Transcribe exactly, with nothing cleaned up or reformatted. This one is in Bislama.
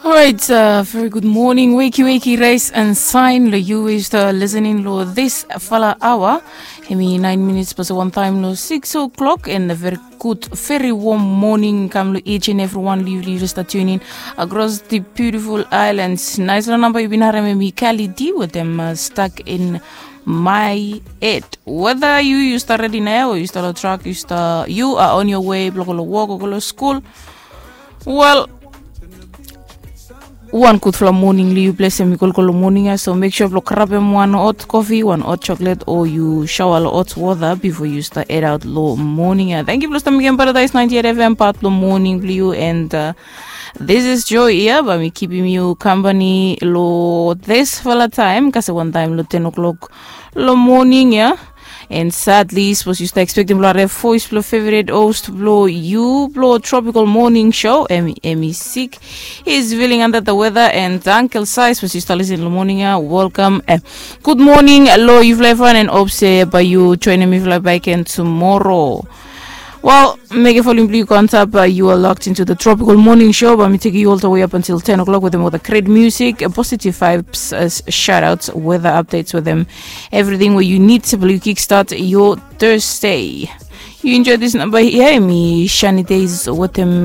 Alright, uh, very good morning. Wakey wakey, rise and shine. Lo yu is the listening lo this fala hour. Hemi nine minutes past one time lo six o'clock, and a very good, very warm morning kam lo each and every one liu liu start tuning across the beautiful islands. Nice lo number yu bin harem hemi Kali D with them uh, stuck in my head. Whether you you start ready now or you start a truck, you start you are on your way, blo go lo work or go lo school. Well, wan gudfala moning lo yu ples em i kolkol lo moning ya, so make sure blo grabem wan hot coffee, wan hot chocolate, or yu shower lo hot water before you start head out lo moning ya. Thank you blo start mekem Paradise ninety-eight F M part lo moning blo yu, and uh, this is Joy ya, ba mi kipim yu company lo this fala time, kase wan time lo ten o'clock lo moning ya. And sadly, sapos yu start expecting blo harem voice blo favorite host blo yu blo Tropical Morning Show, em em i sick. He's feeling under the weather, and Uncle Sai, sapos yu start listening lo moning ya, welcome. Eh, good morning lo yufala evriwan, and hope se ba yu joinim mifala back again tomorrow. Well, mekem volume blo yu go antap, uh, you are locked into the Tropical Morning Show, ba mi tekem yu all the way up until ten o'clock with them with a great music, uh, positive vibes, uh, shout outs, weather updates with them, everything where you need to blo yu kickstart your Thursday. You enjoy this number here, mi Shani Days with them.